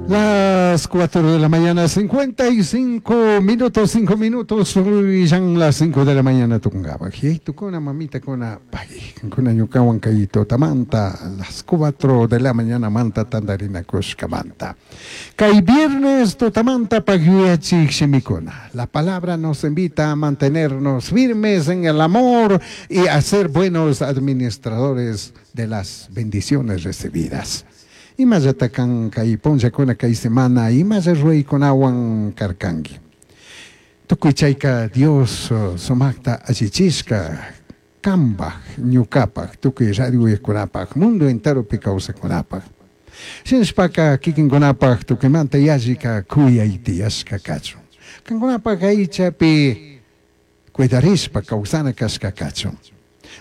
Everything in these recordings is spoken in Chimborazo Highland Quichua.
Las 4 de la mañana, 55 minutos, 5 minutos, ya las 5 de la mañana tucungaba. Tukuna mamita kuna, kuna ñukawan kay tutamanta, las 4 de la mañana manta tandarina kushkamanta. Kay viernes tutamanta pagyuyachik shimikuna. La palabra nos invita a mantenernos firmes en el amor y a ser buenos administradores de las bendiciones recibidas. Imallata kan kay punllakuna kay semana imalla ruraykunawan karkanki. Tukuy chayka Dios sumakta allichishka kambaj ñukapaj tukuy radio mundo enteropi kawsakunapaj. Shinashpaka kikinkunapaj tukuymanta yallika kuyay tiyashka kachun. Kankunapaj aychapi cuidarishpa kawsana kashka kachun.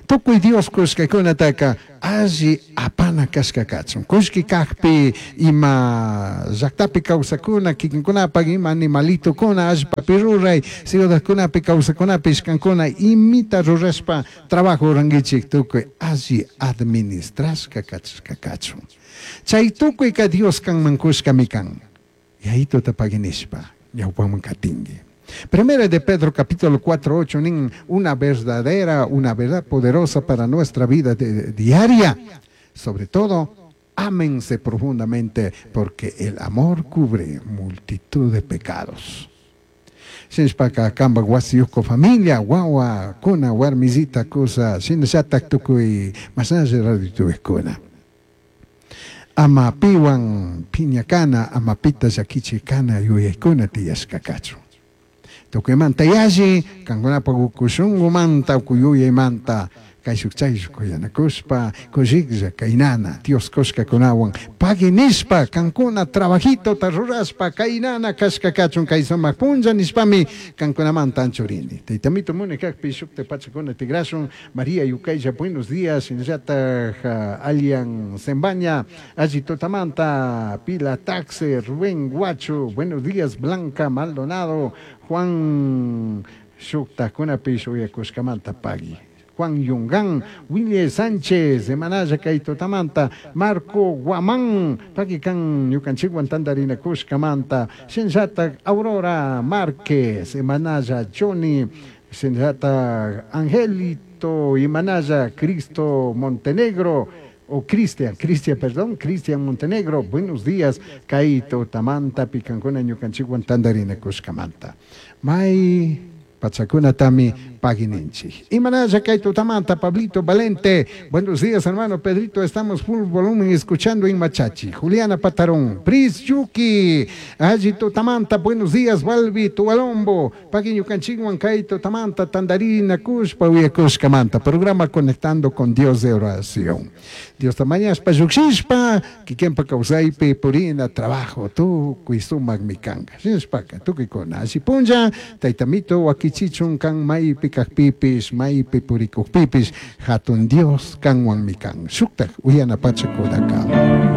Tukuy Dios kushkakunataka alli apana kashka kachun. Kushki kakpi ima llaktapi kawsakuna kikinkunapaj ima animalitokuna allpapi ruray ciudadkunapi kawsakunapish kankuna imita rurashpa trabajo rurankichik tukuy alli administrashka kachashka kachun. Chay tukuyka Dios kanman kushkami kan. Yayituta paginishpa ñawpaman katinki. Primera de Pedro capítulo 4, 8, nin una verdadera, una verdad poderosa para nuestra vida diaria. Sobre todo, ámense profundamente porque el amor cubre multitud de pecados. Shinashpaka kamba wasiyuko familia, wawa, kuna, warmizita, kusa, shinallatak tukuy, masnalla radio Ama piwan piñakana, ama pita llakichikana yuyaykuna tiyashka kachun. Tukuymanta yalli, kankunapaj ukushunkumanta, ukuyuyaymanta, kayshuk chayshuk kuyanakushpa, kushiklla kaynana, Dios kushkakunawan, pagui nishpa, kankuna trabajitota rurashpa, kaynana kashka kachun kay sumak punlla nishpami, kankunamanta anchurini. Taytamito muni kakpi shukta pachakuna tigrashun, María Yukaylla, buenos días, shinallataj Alian Zembaña, alli tutamanta, Pila Taxe, Rubén Guacho, buenos días, Blanca Maldonado, Juan shuktakunapish uyakushkamanta pagui. Juan Yungán, Willy Sánchez, Emanaya kay tutamanta, Marco Guamán, pagui kan ñukanchikwan tandarina kushkamanta, shinallatak Aurora Márquez, Emanaya Johnny, shinallatak Angelito, Imanaya Cristo Montenegro, o Cristian, Cristian, perdón, Cristian Montenegro, buenos días, kay tutamanta, pikankuna ñukanchikwan tandarina kushkamanta. May pachakunatami pagininchik. Imanaya kay tutamanta, Pablito Valente, buenos días hermano Pedrito, estamos full volumen escuchando en Machachi. Juliana Patarón, Pris Yuki, alli tutamanta, buenos días, Balbi, Tualombo, pagui ñukanchikwan kay tutamanta, tandarina kushpa, uyakushkamanta, programa Conectando con Dios de Oración. Dios tamañaspa llukshishpa, kikinpa kawsaypi purina trabajo, tukuy sumak mikanka. Shinashpaka, tukuykuna, alli punlla, taytamito wakichichun kan maypi kajpipish, maypi purikujpipish, hatun Dios kanwan mikan. Shuktak uyana pachakunaka.